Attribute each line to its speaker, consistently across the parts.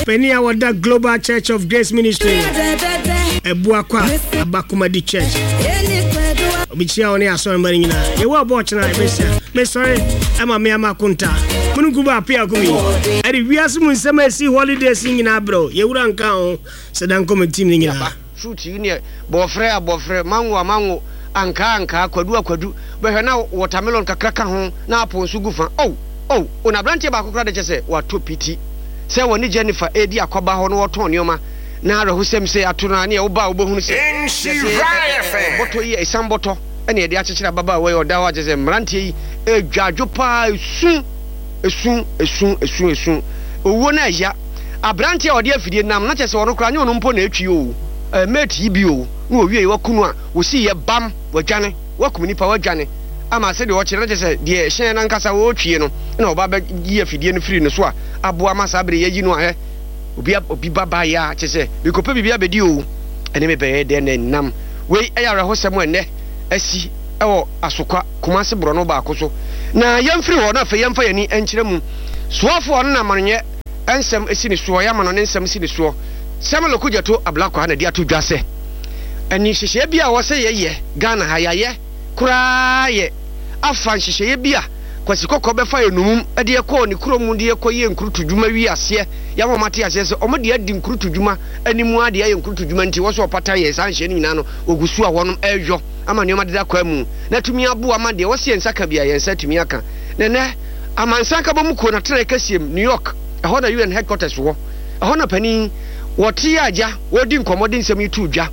Speaker 1: Panin a wɔda Global Church of Grace Ministry, Abuakwa Abakomadi Church. Obikyia wo ne asɔremma no nyinaa. Yɛwɔ ɔbɔ ɔkyena ɛbɛhyia. Mesɔre ɛma me ama akonta. Mununku ba apia kumi. Ɛde wiase mu nsɛm a ɛsi holidays nyinaa brɛ Yɛwura nka ho. Sɛ da nkɔmɔ team no nyinaa.
Speaker 2: Fruit yi neɛ bɔɔfrɛ a bɔɔfrɛ, mango a mango, ankaa a ankaa, kwadu a kwadu, bɛhwɛ na watermelon kakra ka ho na apple nso gu fa. Oh! Oh! Oh! Na aberanteɛ baako koraa de kyɛ sɛ watɔ piti sɛ wɔne Jennifer redi akɔba hɔ na wɔtɔn nneɛma na awerɛhosɛm sei ato no a neɛ woba a wobɛhunu sɛ yɛde ɛ-ɛ-ɛ bɔtɔ yi, esiam bɔtɔ na yɛde akyekyere ababaawa yi a ɔda hɔ a kyerɛ sɛ mmeranteɛ yi redwa adwo paa, esu, esu, esu, esu, esu. Owuo no ɛya. Aberanteɛ a ɔde afidie nam na kyerɛ sɛ ɔno koraa nyɛ ɔno mpo na ɛtwi oo, ɛɛ mate yi bi oo, na wɔwieɛ waku no a, wɔsiiɛ bam, wadwane, wakum nipa, wadwane ama sɛdeɛ ɔkyerɛ na kyerɛ sɛ deɛ hyɛn no ankasa ɔretwie no na ɔba bɛyi afidie no firi ne so a aboa ma saa berɛ yɛayi no a hɛ obi obi ba baeɛ a kyerɛ sɛ mekɔpɛ biribi abɛdi oo, ɛne me bɛyɛ dɛn na ɛnam. Wei ɛyɛ awerɛhosɛm a ɛnnɛ asi wɔ Asokwa, Kumase borɔno baako so. Na yɛmfiri hɔ na afei yɛmfa yɛn ani nkyerɛ mu. Soafoɔ no na amanonyɛ nsɛm si ne soɔ, yɛama no ne nsɛm si ne soɔ. Samuel Okudzeto Ablakwa na de ato dwa sɛ, Ɛne nhyehyɛeɛ bi a ɛwɔ sɛ yɛyɛ Ghana ha, yɛayɛ koraa yɛ afa nhyehyɛeɛ bi a Kwasi Kɔkɔɔ bɛfa yɛn nnommum de kɔɔ ne kurom de kɔyɛɛ nkurutu dwuma wie aseɛ. Yɛama wɔn ate aseɛ sɛ wɔn de adi nkurutu dwuma anim ara de ayɛ nkurutu dwuma nti wɔ sɛ wɔpata yɛn saa nhyehyɛeɛ no nyinaa no wɔgu so a wɔnom reyɔ ama nneɛma deda kwan mu na atumi aboa ma deɛ ɛwɔ sɛ yɛn nsa ka biara yɛn nsa atumi aka. Na ɛnnɛ Amansan Nkabom Kuo no atenaeɛ kɛseɛ mu, New York, ɛhɔ na UN headquarters wɔ. Ɛhɔ na panin wɔte agya wɔredi nkɔmmɔ de nsɛm yi too dwa.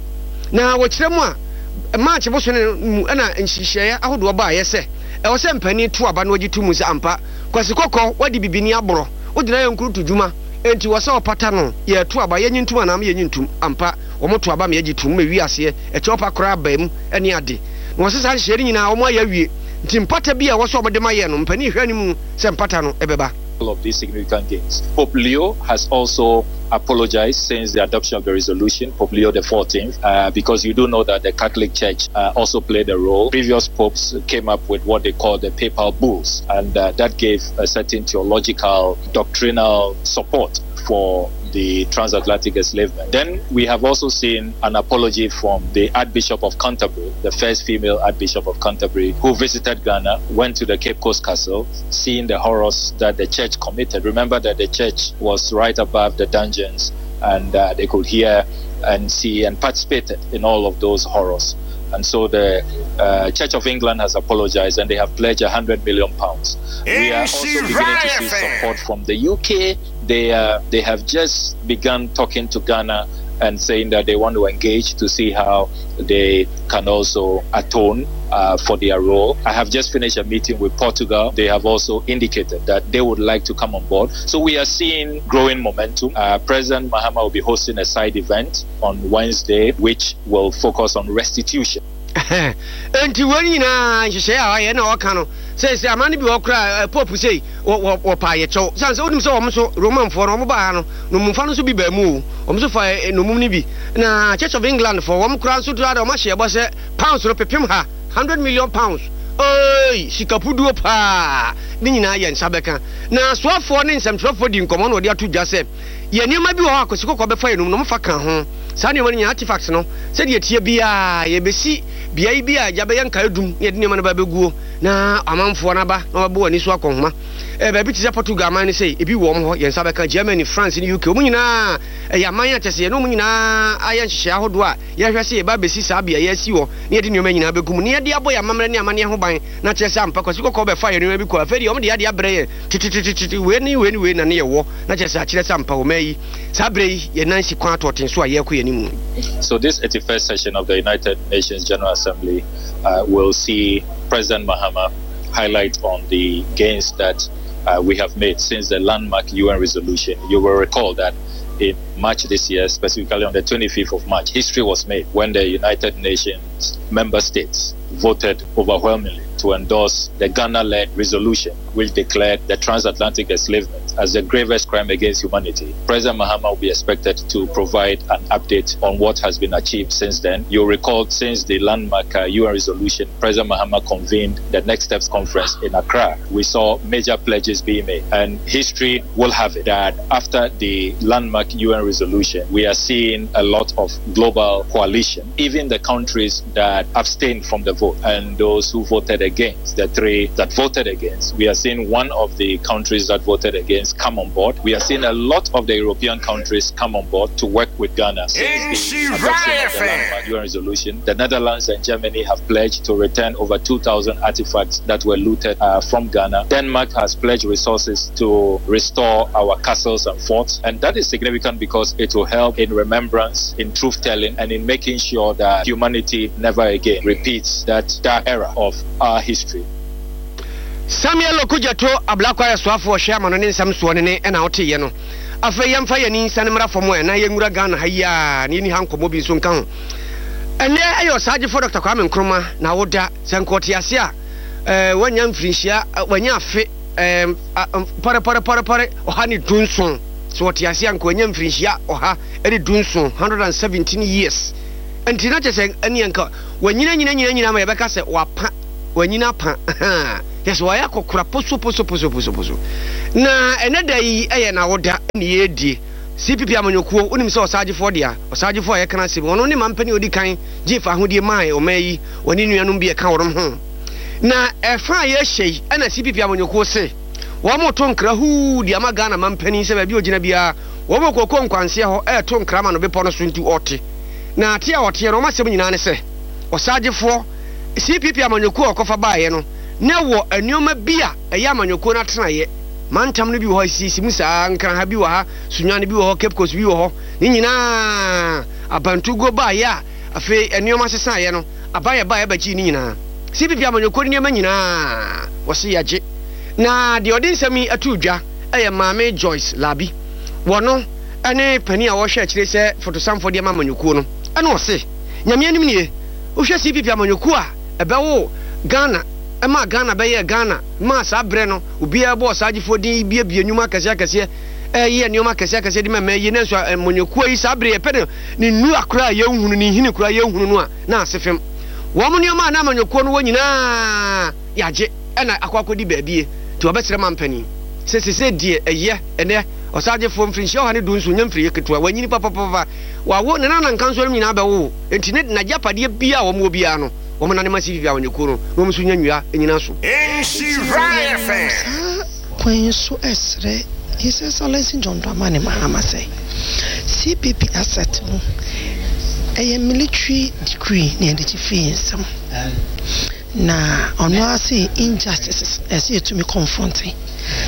Speaker 2: Na wɔkyerɛ mu a, March bosome no mu na nhyehyɛeɛ ahodoɔ baeɛ sɛ ɛwɔ sɛ mpanin to aba na wɔgye to mu sɛ ampa Kwasi Kɔkɔ wadi bibini aborɔ, wogyina yɛ nkurutu dwuma, enti wɔ sɛ wɔpata no, yɛreto aba, yɛnye ntom anaa yɛnye ntom. Ampa, wɔto aba ma yɛgye tom ma ɛwie aseɛ, ɛkyɛw pa koraa baa mu ne ade. Na wɔse saa nhyehyɛeɛ no nyinaa wɔayɛ awie. Nti mpata bi a ɛwɔ sɛ wɔde ma yɛn no, mpanin hwɛ anim sɛ mpata no bɛba.
Speaker 3: Of these significant gains. Pope Leo has also apologized since the adoption of the resolution, Pope Leo the 14th, uh, because you do know that the Catholic Church uh, also played a role. Previous popes came up with what they call the papal bulls, and uh, that gave a certain theological, doctrinal support for the transatlantic enslavement. Then we have also seen an apology from the Archbishop of Canterbury, the first female Archbishop of Canterbury, who visited Ghana, went to the Cape Coast Castle, seeing the horrors that the church committed. Remember that the church was right above the dungeons and uh, they could hear and see and participated in all of those horrors. And so the uh, Church of England has apologized and they have pledged 100 million pounds. We are also beginning to see support from the UK. They, uh, they have just begun talking to Ghana and saying that they want to engage to see how they can also atone uh, for their role. I have just finished a meeting with Portugal. They have also indicated that they would like to come on board. So we are seeing growing momentum. Uh, President Mahama will be hosting a side event on Wednesday, which will focus on restitution.
Speaker 2: Enti wei nyinaa nhyehyɛe a ɔyɛ na ɔka no seesei aman no bi wɔ koraa pope sei wɔpa yɛ kyɛw sane sɛ wonim sɛ wɔn nso Romanfoɔ no wɔn baa ha no nnommumfa no nso bi baa mu o wɔn nso fa nnommum no bi na Church of England foɔ wɔn koraa nso dura wɔn ahyɛ ɛbɔ sɛ pounds no pepem ha 100 million pounds oi sika puduo paa ne nyinaa yɛ nsa bɛka na soafoɔ ne nsɛmtwerɛfoɔ di nkɔmmɔ na wɔde ato dwa sɛ yɛ nneɛma bi wɔ hɔ a Kwasi Kɔkɔɔ bɛfa yɛn nom na wɔfa ka ho. Saa nneɛma no nyinaa, artifacts no, sɛdeɛ ɛteɛ biara, yɛbɛsi beae bi a gya bɛyɛ nkaedum na yɛde nneɛma no ba abɛguo na amanfoɔ no aba na wɔabɛbɔ wɔn ani so akɔnhoma. Eh, baabi te sɛ Portugal man no sei, ebi wɔ wɔn hɔ, yɛn nsa bɛka. Germany, France ne UK, wɔn nyinaa, ɛyɛ aman a kyerɛ sɛ yɛne wɔn nyinaa ayɛ nhyehyɛe ahodoɔ a yɛhwɛ sɛ yɛba abɛsi saa beaeɛ asi hɔ na yɛde nneɛma nyinaa bɛgu mu na yɛde abɔ yɛn amammerɛ ne amanneɛ ho ban na kyerɛ sɛ ampa Kwasi Kɔkɔɔ bɛfaa yɛn nneɛma bi kɔɔ afei deɛ wɔn de adeɛ abrɛ yɛn tetetetete wei ne wei ne wei na ne yɛwɔ na kyerɛ sɛ akyerɛ sɛ ampa ɔman yi saa berɛ yi yɛn nan si kwan atɔɔten so a yɛrekɔ yɛn anim.
Speaker 3: So this 81st session of the United Nations General Assembly uh, will see President Mahama highlight on the gains that uh, we have made since the landmark UN resolution. You will recall that in March this year, specifically on the 25th of March, history was made when the United Nations Nations member states voted overwhelmingly to endorse the Ghana led resolution which declared the transatlantic enslavement as the gravest crime against humanity. President Mahama will be expected to provide an update on what has been achieved since then. You'll recall since the landmark UN uh, resolution, President Mahama convened the Next Steps conference in Accra. We saw major pledges being made, and history will have it that after the landmark UN resolution, we are seeing a lot of global coalition, even the countries that abstained from the vote and those who voted against, the three that voted against. We are seeing one of the countries that voted against come on board. We are seeing a lot of the European countries come on board to work with Ghana. Since the adoption of the landmark UN resolution, the Netherlands and Germany have pledged to return over 2,000 artifacts that were looted uh, from Ghana. Denmark has pledged resources to restore our castles and forts. And that is significant because it will help in remembrance, in truth telling, and in making sure that humanity never again repeats that dark era of our history.
Speaker 2: Samuel Okudzeto Ablakwa yɛ soafoɔ ɔhwɛ amanɔne nsɛm soɔ ne ne ɛna woteeɛ no. Afei yɛmfa yɛn ani nsiane mmra fam ɛ na yɛnwura Ghana ha yi ara na yɛnni ha nkɔmmɔ bi nso nka ho. Ɛnnɛ ɛyɛ Ɔsaagyefoɔ Dɔkta Kwame Nkrumah na awoda. Sɛ nka ɔte ase a, eh, wanya mfirinhyia, wanya afe eh, pɔrepɔrepɔrepɔre 117. Sɛ ɔte ase a nka wanya mfirinhyia 117, 117 years. Nti na kyerɛ sɛ ɛneɛ nka wanyina nyina nyina nyina ma yɛbɛka sɛ wapa, wanyina apa, ahaa, kyerɛ sɛ wayɛ akɔkora poso poso poso poso poso. Na ɛnɛ da yi ɛyɛ n'awoda ne yɛredie. CPP amanyɔkuo, wonim sɛ ɔsaagyefoɔ dea, ɔsaagyefoɔ a yɛka n'asɛm yi, ɔno ne mampanin a ɔdi kan gyee fahodie mae ɔman yi, ɔne nuanom bi a ɛka wɔnom ho. Na ɛfa a yɛrehyɛ yi ɛna CPP amanyɔkuo se wɔreto nkra huu de ama Ghana mampanin sɛ baabi a ɔgyina biara wɔwɔ kooko nkwanseɛ hɔ reto nkra ma no bepɔ no so nti ɔte. Na te a ɔteɛ no wɔn asɛm nyinaa ne sɛ ɔsaagyefoɔ CPP amanyɔkuo a ɔkɔfa baeɛ no na ɛwɔ nnoɔma bi a ɛyɛ amanyɔkuo no atenaeɛ. Mantam no bi wɔ hɔ a ɛsisi mu saa, Nkran ha bi wɔ ha, Sunyani bi wɔ hɔ, Cape Coast bi wɔ hɔ. Ne nyinaa abantuguo baeɛ a afei nnoɔma sesaeɛ no, aban a ɛbaeɛ bɛgyee ne nyinaa. CPP amanyɔkuo no nneɛma nyinaa wɔse yɛagye. Na deɛ ɔde nsɛm yi too dwa yɛ Maame Joyce Labi. Wɔno ne panin a ɔhwɛ akyire sɛ fotosanfoɔ de ama amanyɔkuo no. Ɛna ɔse, Nyame anim nie, wohwɛ CPP amanyɔkuo a ɛbɛwoo Ghana, ɛmaa Ghana bɛyɛɛ Ghana, maa saa berɛ no obiara bɔɔ saa agyefoɔ din yi buebue nnwuma akɛseɛ akɛseɛ, ɛyɛ nneɛma akɛseɛ akɛseɛ de ma mmaa yi, nanso amanyɔkuo yi saa berɛ yɛpɛ no ne nnura koraa a yɛnhunu, ne nhini koraa yɛnhunu no a, na ase fem. Wɔn nneɛma a na amanyɔkuo no wɔ nyinaa yɛagye ɛna akɔ akɔdi baabie, nti wɔbɛsrɛ mampanin sɛ sesei deɛ ɛyɛ ɛnɛ ɔsaagyefoɔ mfirinhyia 117 nyɛ mfiriɛ ketewa, wanyini papapapa, wawo ne nana nkansoɔ nom nyinaa bɛwowo, nti ne n'agyapadeɛ biara a wɔn wɔ biara no wɔn nane ma CPP amanyɔkuo no na wɔn nso nya nnua nyina so.
Speaker 4: Nhyira FM. Saa kwan yi so srɛ His Excellency John Dramani Mahama sɛ CPP asset no ɛyɛ military decree na yɛde gye firi yɛn nsam na ɔno ara se injustices ɛsɛ yɛtumi confronte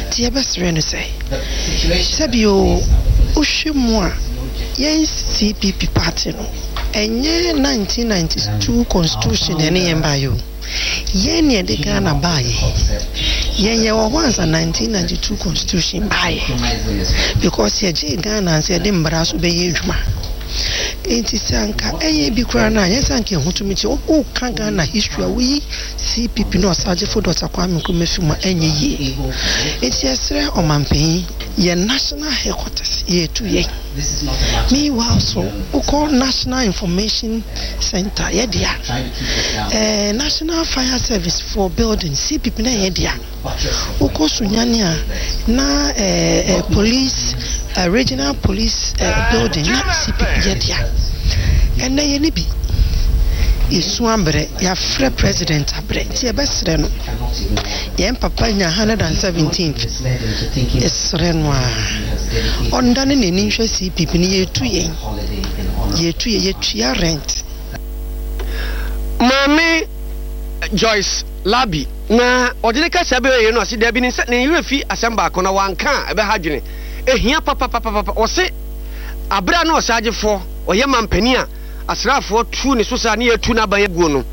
Speaker 4: nti yɛbɛsrɛ no sɛ sɛbi o wohwɛ mu a yɛn CPP party no ɛnyɛ 1992 constitution na ɛne yɛn baeɛ o. Yɛn na yɛde Ghana baeɛ. Yɛn yɛwɔ hɔ ansa 1992 constitution baeɛ because yɛgyee Ghana ansa yɛde mmara so bɛyɛ adwuma. Nti sɛ anka ɛyɛ bi koraa no a, nyɛ sɛ anka ɛho tumi kye. Woka Ghana history a woyi CPP ne Ɔsagyefo Dɔkta Kwame Nkrumah fi mu a ɛnyɛ yie. Nti yɛsrɛ ɔmanpanyin, yɛn national headquarters yɛretu yɛn. Meanwhile so wokɔ National Information Centre yɛ dea, eh, National Fire Service foɔ building CPP na ɛyɛ dea. Wokɔ Sunyani a na eh, eh, police eh, regional police eh, building na CPP yɛ dea. Ɛnɛ yɛ ne bi. Yɛsu abrɛ, yɛafrɛ president abrɛ, nti yɛbɛsrɛ no. Yɛn papa nya 117th, yɛsrɛ no a ɔndane n'ani nhwɛ CPP no, yɛtu yɛn, yɛtu yɛn, yɛtua rent.
Speaker 2: Maame Joyce Larbi na ɔde ne kasa bɛyɛ no ase daabi ne nsa ne werɛ fi asɛm baako na wanka a ɛbɛha adwene ehia papapapapa ɔse abere a na ɔsaagyefoɔ ɔyɛ mampanin a asraafoɔ tu ne so saa ne yɛtu n'aban aguo no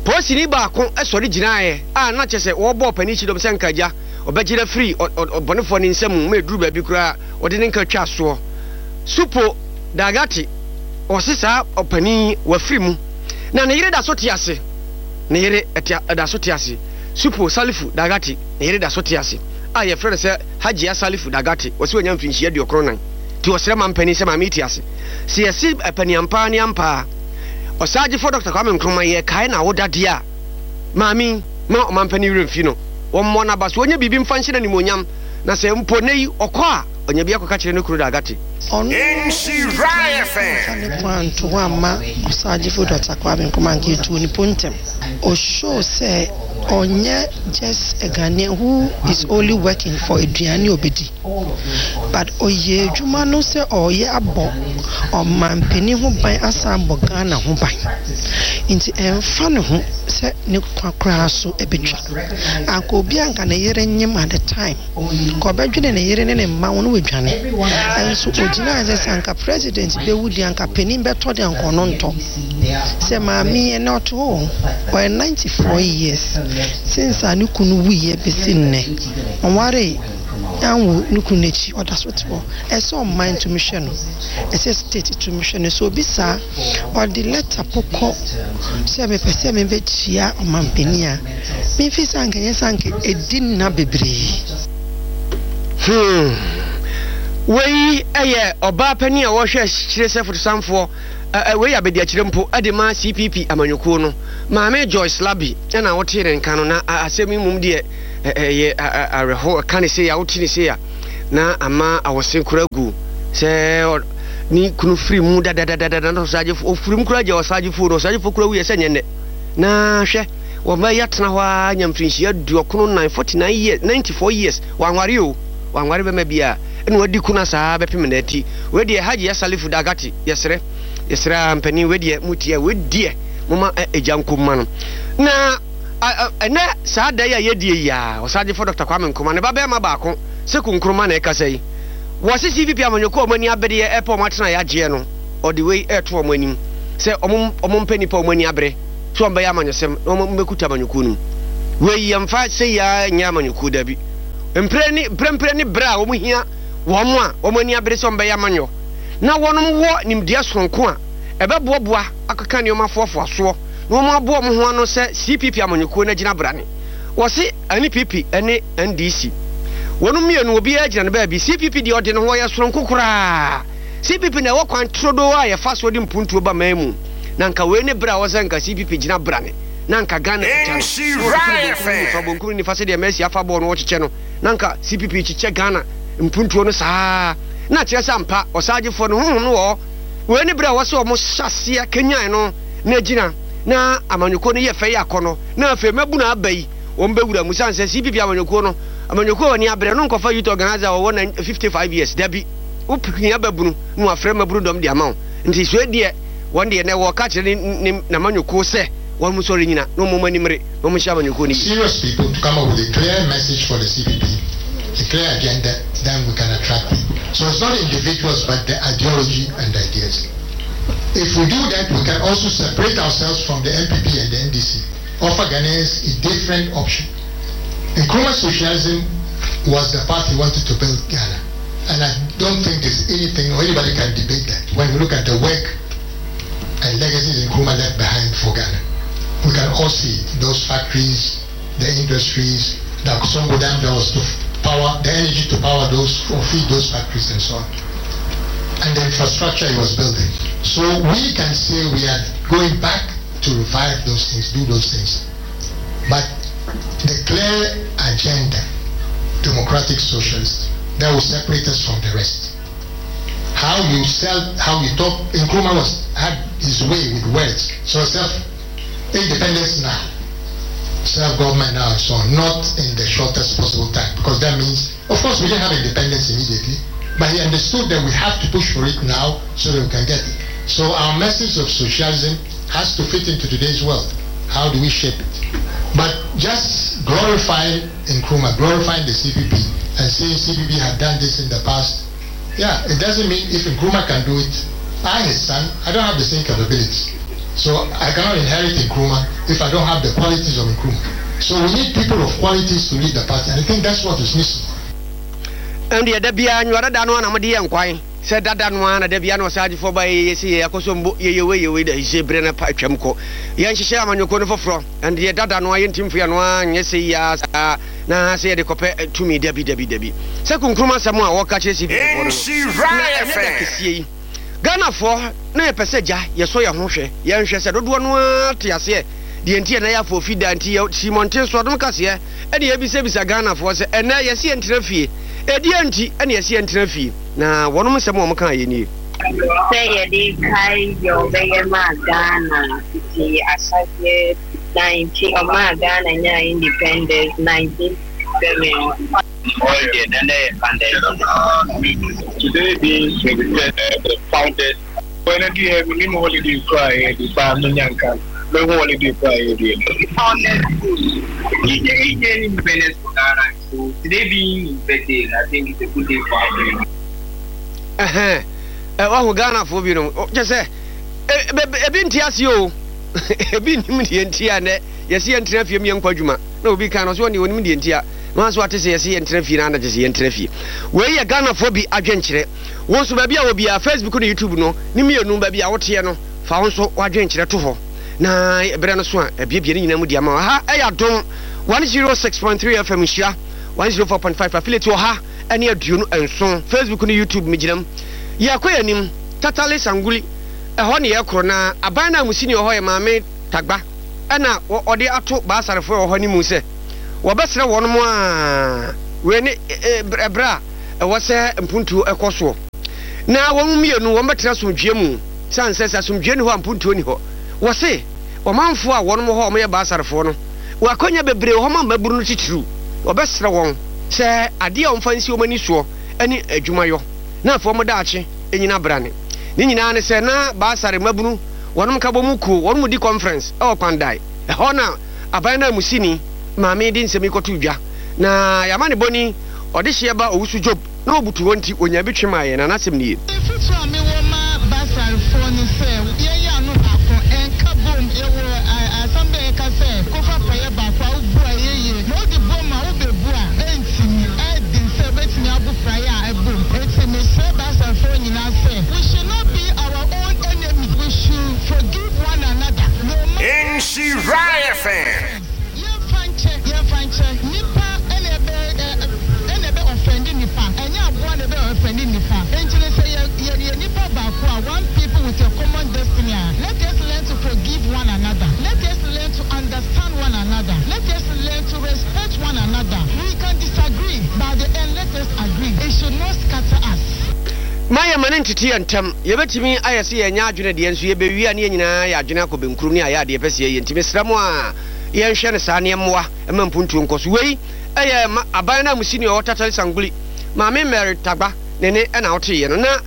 Speaker 2: polisini baako sɔre gyinaeɛ a na kyerɛ sɛ wɔrebɔ ɔpanin kyidɔm sɛ nka agya ɔbɛgye no afiri ɔbɔnefoɔ no nsa mu ma ɛduru baabi koraa ɔde ne nka twa soɔ. Supo Dagati, ɔse saa ɔpanin yi wafiri mu. Na ne yere da so te ase. Ne yere te da so te ase. Supo Salifu Dagati, ne yere da so te ase a yɛfrɛ no sɛ Hajia Salifu Dagati. Wɔse wanya mfirinhyia 94 nti wɔsrɛ mampanin sɛ maame yi te ase. Sɛ yɛse ɛpɛ ne ampa ara ne ampa ara Ɔsaagyefo Dɔkta Kwame Nkrumah yɛkae n'awoda deɛ a, maame yi ma ɔmampanin werɛ mfi no. Wɔmmɔ n'aba so, ɔnyɛ biribi mfa nhyɛ no animuonyam na sɛ mpo nnɛ yi ɔkɔ a, ɔnya bi akɔka kyerɛ ne kunu Dagati.
Speaker 4: Ɔno amfa ne kwan anto hɔ amma Ɔsaagyefo Dɔkta Kwame Nkrumah anka etuu ne po ntɛm. O show sɛ ɔnyɛ just a Ghanaian who is only working for aduane a obedi but ɔyɛ adwuma no sɛ ɔreyɛ abɔ ɔmanpanin ho ban asan abɔ Ghana ho ban. Nti ɛmfa ne ho sɛ ne kwa koraa so betwa. Anka obi a anka ne yere nyem at the time. Nka ɔbɛdwene ne yere ne ne mma ho na wadwane. Nso ogyinae sɛ sɛ anka president bɛwu deɛ anka panin bɛtɔ deɛ anka ɔno ntɔ. Sɛ maame yi ɛnɛ ɔte hɔ o, ɔyɛ 94 years since a ne kunu wuiɛ bɛsi nnɛ. Ɔnwaree anwo ne kunu no akyi ɔda so te hɔ. Ɛsɛ ɔman tumi hwɛ no, ɛsɛ state tumi hwɛ no. Sɛ obi saa ɔde letter po kɔ sɛ mepɛ sɛ mebɛkyia ɔmanpanin a, Mimfi sɛ anka ɛnyɛ sɛ anka edi nna bebree.
Speaker 2: Hmm. Wei yɛ ɔbaa panin a wɔhwɛ akyire sɛ fotosanfoɔ, wei yɛ abadiakyire mpo de ma CPP amanyɔkuo no. Maame Joyce Labi na wotee ne nka no, na asɛm yi mmom deɛ ɛyɛ awerɛho, ɛka ne sei a, wote ne sei a, na ama awɔse koraa gu sɛ ne kunu firi mu dadadadada na ɔsagyefoɔ, ɔfiri mu koraa gya ɔsagyefoɔ no, ɔsagyefoɔ koraa wuiɛ sɛ nyɛ nnɛ. Na hwɛ, wɔn yi atena hɔ ara anya mfirinhyia 94, 49 years, 94 years, wanware o, wanware bɛma bi a, ɛna wadi kuna saa bɛpem nnɛ ti. Wei deɛ Hajiya Salifu Dagati, yɛsrɛ, yɛsrɛ ara mpanin, wei deɛ motie a, wei deɛ moma egya nko mma no. Na ɛnɛ saa da yi a yɛdie yi a, Ɔsagyefo Dɔkta Kwame Nkrumah, ne ba bɛrima baako, Seku Nkrumah na ɛkasa yi. Wɔse CPP amanyɔkuo a wɔn ani abereɛ ɛpɛ wɔn atena yɛagyeɛ no, ɔde wei reto wɔn anim sɛ wɔn wɔmpɛ nnipa a wɔn ani abere sɛ wɔbɛyɛ amanyɔsɛm na wɔmmɛkuta amanyɔkuo no mu. Wei yɛmfa sei ara nyɛ amanyɔkuo, dabi. Mprɛ ne mprɛmprɛ ne berɛ a wɔhia wɔn a wɔn ani abere sɛ wɔbɛyɛ amanyɔ na wɔnom wɔ nimdeɛ sononko a ɛbɛboaboa akeka nneɛma foafoa soɔ na wɔn aboa wɔn ho ano sɛ CPP amanyɔkuo no agyina brane. Wɔse NPP ne NDC wɔnom mmienu obiara gyina ne baabi. CPP deɛ ɔde ne ho ɔyɛ sononko koraa. CPP na ɛwɔ kwan turodoo a yɛfa soɔ de mpuntuo ba man mu. Na anka wei ne berɛ a ɛwɔ sɛ anka CPP gyina brane na anka Ghana kuta no. Na wɔtoto no bonkum ne nifa, bonkum ne nifa sɛdeɛ Mercy afa bɔɔl no wɔkyekyɛ no. Na anka CPP rekyekyɛ Ghana mpuntuo no saa. Na kyerɛ sɛ ampa ɔsaagyefoɔ no honhom no wɔ hɔ. Wei ne berɛ a ɛwɔ sɛ wɔhyɛ aseɛ kanyan no na agyina na amanyɔkuo no yɛ fɛ yɛ akɔnnɔ. Na afei mmabunu aba yi wɔn bɛwura mu. Sane sɛ CPP amanyɔkuo no, amanyɔkuo a wɔn ani abere no nkɔfa youth organizer a ɔwɔ 55 years, dabi. Wo hia babunu na wafrɛ mmabunu dɔm de ama wo. Nti soe deɛ wɔn deɛ nɛ wɔka kyerɛ ne ne n'amanyɔkuo sɛ wɔn nsɔre nyina na wɔn ani mmere na wɔn nhyɛ amanyɔkuo no yie.
Speaker 5: Serious people to come up with a clear message for the CPP, a clear agenda, then we can attract people. So it's not individuals but the ideology and ideas. If we do that, we can also separate ourselves from the NPP and the NDC, offer Ghanaians a different option. Nkrumah socialism was the path he wanted to build Ghana. And I don't think there's anything or anybody can debate that when we look at the work and legacies Nkrumah left behind for Ghana. We can all see it. Those factories, the industries, the Akosombo Dam that was to power, the energy to power those or feed those factories and so on. And the infrastructure he was building. So we can say we are going back to revive those things, do those things. But the clear agenda, democratic socialist, that will separate us from the rest. How you sell, how you talk, Nkrumah was, had his way with words. So self, independence now, self-government now and so on, not in the shortest possible time, because that means, of course we didn't have independence immediately, but he understood that we have to push for it now so that we can get it. So our message of socialism has to fit into today's world. How do we shape it? But just glorifying Nkrumah, glorifying the CPP, and saying CPP had done this in the past, yeah, it doesn't mean if Nkrumah can do it, I, his son, I don't have the same capabilities. So I cannot inherit Nkrumah if I don't have the qualities of Nkrumah. So we need people of qualities to lead the party, and I think that's what is missing.
Speaker 2: Ɛndeɛ da biara nwoa dada no ara na mode yɛ nkwan. Sɛ dada no ara na da biara na ɔsaagyefoɔ ba yɛyɛ sei, yɛyɛ akɔsɔmbo, yɛyɛ wei, yɛyɛ wei, da yi berɛ no atwam kɔ. Yɛnhyehyɛ amanyɔkuo no foforɔ, ɛnde deɛ dada no ara yɛntumi mfa yɛn ano ara nyɛ sei yi ara saa na sɛ yɛde kɔpɛ tumi, dabi, dabi, dabi. Sɛ Nkrumah asɛm a wɔka kyerɛ CPP foɔ no no, na ɛnyɛ da kɛseɛ yi. Ghanafoɔ na yɛpɛ sɛ gya yɛsɔ yɛn ho hwɛ, yɛnhwɛ sɛ dodoɔ no ara te aseɛ deɛ nti a na yɛ afoofi da nti yɛ si mmɔnten so adom kaseɛ ɛne yɛbisabisa Ghanafoɔ sɛ ɛnɛ yɛse yɛntena fie, ɛdeɛn nti ɛne yɛse yɛntena fie? Na wɔnom nsɛm a wɔn kaeɛ nie.
Speaker 6: Sɛ yɛde kae deɛ ɔbɛyɛ maa Ghana fiti ahyɛaseɛ 19 ɔmaa Ghana nyaa independence 1967.
Speaker 7: Today being 23rd, the founders. When I do minimum holiday cry, the bar no mehu holiday cry, the
Speaker 8: founders he he gained independence for Ghana. So today being his birthday, I think it's a good day for Africa.
Speaker 2: Ɛhɛn, wahu Ghanafoɔ binom, kyɛ sɛ ebi nte aseɛ o, ebi nnim deɛ nti a nɛ yɛse yɛntena fie mu yɛnkɔ adwuma, na obi kan no ɔse ɔne ɔnim deɛ nti a, na wanso ate sɛ yɛse yɛntena fie na ana kyɛ sɛ yɛntena fie. Wei yɛ Ghanafoɔ bi adwenkyerɛ. Wo nso baabi a wɔ biara, Facebook ne YouTube no ne mmienu baabi a woteɛ no, fa wo nso w'adwenkyerɛ to hɔ na berɛ no so a abiebie ne nyinaa mu di ama wo. Ha ɛyɛ Adom 106.3 FM Nhyira 104.5 affiliate 127 Facebook ne YouTube megyina mu. Yɛkɔ yɛn anim Tatale Sanguli ɛhɔ ne yɛkorɔ na aban no a musini wɔ hɔ yɛ Maame Tagba ɛna ɔde ato Baasarefoɔ ɛwɔ hɔ anim sɛ wɔbɛsrɛ wɔnom a wei ne ɛberɛ a ɛwɔ sɛ mpuntuo ɛkɔ soɔ na wɔn mmienu wɔn bɛtena asomdwoeɛ mu sane sɛ sɛ asomdwoeɛ ni hɔ a mpuntuo ni hɔ. Wɔse ɔmanfoɔ a wɔnom wɔ hɔ a wɔyɛ Baasarefoɔ no wɔ akwanya bebree wɔ hɔ ma mmabunu no titiriw. Wɔbɛsrɛ wɔn sɛ adeɛ a wɔmfa nsi wɔn ani soɔ ne adwumayɔ na afei wɔn daakye nyina brane. Ne nyinaa ne sɛ na Baasare mmabunu wɔnom nkabɔmu kuo wɔnom di conference wɔ Kpandai. Ɛhɔ na aban nanmusini maame de nsɛm yi kɔtoo dwa. Na y'amanebɔni ɔdehyeɛ ba Owusu Job na ɔbutu hɔ nti ɔnyaa bi twe maa yɛn na n'asɛm nie.
Speaker 9: Afotu a mewɔ ma Basarfoɔ ne sɛ, yɛnyɛ ano baako, nka bom. Yɛwɔ asɛm bi a yɛka sɛ, Kofa praeɛ baako a wobu a ɛyɛ yie, na wode bom a wobɛbu a, ɛntumi. Ɛyɛ den sɛ wobɛtumi abu praeɛ a ɛbom. Enti mesrɛ Basarfoɔ nyinaa sɛ, we should not be our own enemy, we should forgive one another, no matter.
Speaker 10: Nhyira FM.
Speaker 9: Yɛnfa nkyɛ, yɛnfa nkyɛ. Nipa na ɛbɛ ɛ na ɛbɛ ɔfɛndi nipa, ɛnyɛ aboa na ɛbɛ ɔfɛndi nipa. Enti no sɛ yɛ yɛ yɛ nipa baako a, one people with a common destiny a, let us learn to forgive one another, let us learn to understand one another, let us learn to respect one another. We can disagree, but at the end let us agree. It should not scatter us.
Speaker 2: Mma yɛmma no ntete yɛn ntam. Yɛbɛtumi ayɛ sɛ yɛnyɛ adwene deɛ, nso yɛbɛwie a ne yɛn nyinaa yɛ adwene akɔ benkurom ne ayɛ adeɛ yɛpɛ sɛ yɛyɛ. Nti mesrɛ mo a yɛnhwɛ no saa na yɛmmoa mma mpuntuo nkɔ so. Wei yɛ ma aban no anmusini a ɔwɔ Tatale Sanguli, Maame Mary Tagba ne ne na woteeɛ no. Na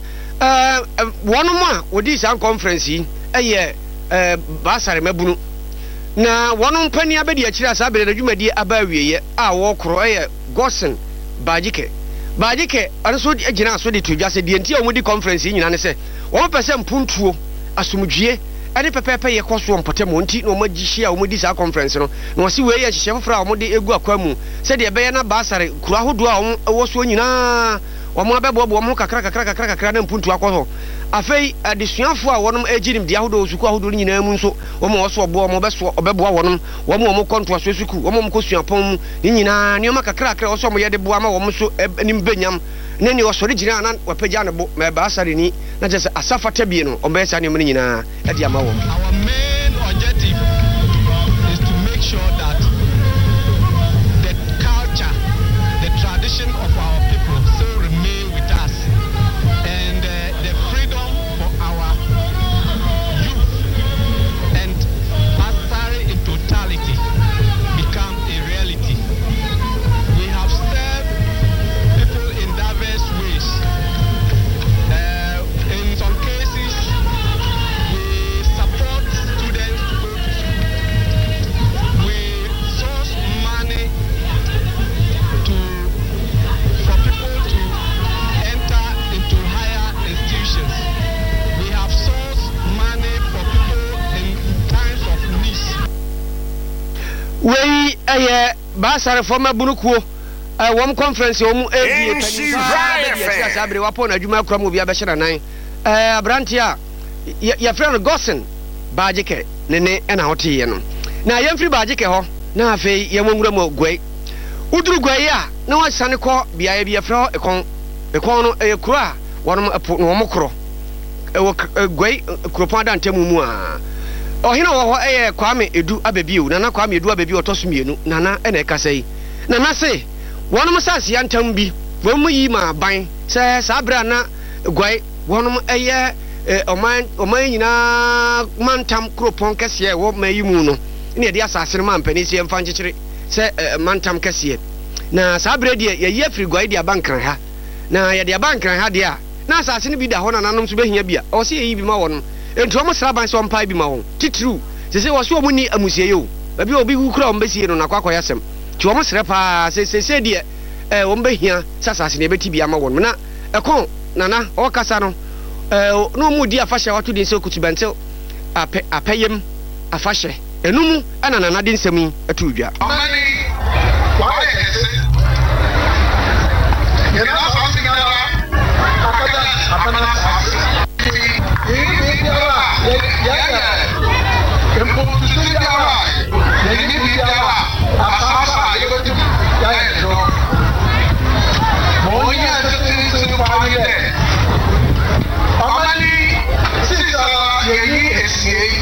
Speaker 2: wɔnom a wɔdii saa nkɔnfrɛnse yi yɛ Baasare mmabunu. Na wɔnom panin abɛdi akyire a saa berɛ no dwumadie aba awieɛ a wɔkorɔ yɛ Godson Bagyike. Bagyike nso gyinaa so de too dwa sɛ deɛ nti a wɔdi kɔnfrɛnse yi nyinaa ne sɛ wɔpɛ sɛ mpuntuo, asomdwie ne pɛpɛɛpɛyɛ kɔ so wɔ mpɔtam hɔ nti na wɔahyia a wɔdi saa kɔnfrɛnse no. Na wɔse wei yɛ nhyehyɛe foforɔ a wɔde regu akwan mu sɛdeɛ ɛbɛyɛ na Baasare kuro ahodoɔ a wɔwɔ soɔ nyinaa wɔabɛboaboa wɔn ho kakra kakra kakra kakra na mpuntuo akɔ so. Afei adesuafoɔ a wɔnom regye nimdeɛ ahodoɔ wɔ sukuu ahodoɔ no nyinaa mu nso wɔn a wɔso ɔboa wɔn wɔbɛsoa wɔbɛboa wɔnom, wɔn a wɔkɔ ntoasoɔ sukuu, wɔn a wɔkɔ suapɔn mu, ne nyinaa nneɛma kakrakra a ɛwɔ sɛ wɔyɛ de boa ma wɔn nso anim bɛ nyam, ne nea ɔsɔre gyina a na wapagya ne bo ma ɛba asareni, na kyerɛ sɛ asa fata bie no, wɔbɛyɛ saa nneɛma no nyinaa de ama wɔn.
Speaker 11: Our main objective is to make sure that the culture, the tradition of our people still remain with us and the freedom for our youth and Asare in totality become a reality. We have served people in diverse ways. Uh, in some cases, we support students to go to school. We source money to for people to enter into higher institutions. We have sourced money for people in times of needs.
Speaker 2: Wei yɛ Baasarefo mmabunu kuo. Wɔn conference a wɔn redie panin paa bɛdi akyire a saa bere wapɔn n'adwuma akura ma obi abɛhyɛ n'anan. Aberanteɛ a yɛfrɛ no Godson Baagyekɛ ne ne na woteeɛ no. Na yɛmfiri Baagyekɛ hɔ na afei yɛmmɔ nwura mu Guai. Woduru Guai a na woasiane kɔ beaeɛ bi yɛfrɛ hɔ Ekɔn. Ekɔn no ɛyɛ kuro a wɔnom ɛpo na wɔn korɔ. Ɛwɔ Guai kuropɔn adantamu mu a. Ɔhene a ɔwɔ hɔ ɛyɛ Kwame Edu Abɛbio, Nana Kwame Edu Abɛbio ɔtɔ so mmienu, Nana na ɛkasa yi. Na na se wɔnom saase yantam bi wɔnom yi maa ban sɛ saa bere a na guae wɔnom yɛ ɔman ɔman nyinaa mantam kuropɔn kɛseɛ a ɛwɔ man yi mu no na yɛde asaase no maa mpanin sɛ yɛmfa nkyekyere sɛ mantam kɛseɛ. Na saa bere deɛ yɛyi afiri guae de aba Nkran ha. Na yɛde aba Nkran ha deɛ a na asaase no bi da hɔ nananom nso bɛhia bi a ɛwɔ sɛ yɛyi bi ma wɔnom. Enti wɔn sra ban sɛ wɔmpae bi ma wɔn. Titiriw, seesei wɔse wɔn nni amusiei o. Baabi a obi wu koraa a wɔbɛsie no no akɔ akɔyɛ asɛm. Nti wɔn srɛ paa sɛ seesei deɛ eh, wɔn bɛhia sɛ asase no yɛbɛti bi ama wɔn. Na ɛkɔn Nana ɔrekasa no eh, na wɔn redi afahyɛ a wɔato din sɛ Okutubɛntew apɛ, apɛyem afahyɛ. Ɛno mu na Nana de nsɛm yi too dwa.
Speaker 12: Ɔman yi, wayɛ kɛse. Yɛn asaase nyinara akɛda aban asaase. Yɛnyi biribiara a yɛyɛ, mpontusu biara a yɛnyi biribiara a asaase a yɛbɛtum yɛayɛ no. Ma onyia tsitsentsen paa nye dɛ, ɔman yi seseiara yɛnyi esiei.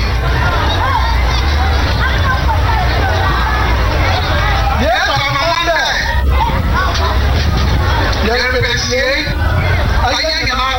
Speaker 12: Yesu ama dɛ yɛrebesiei ayɛ.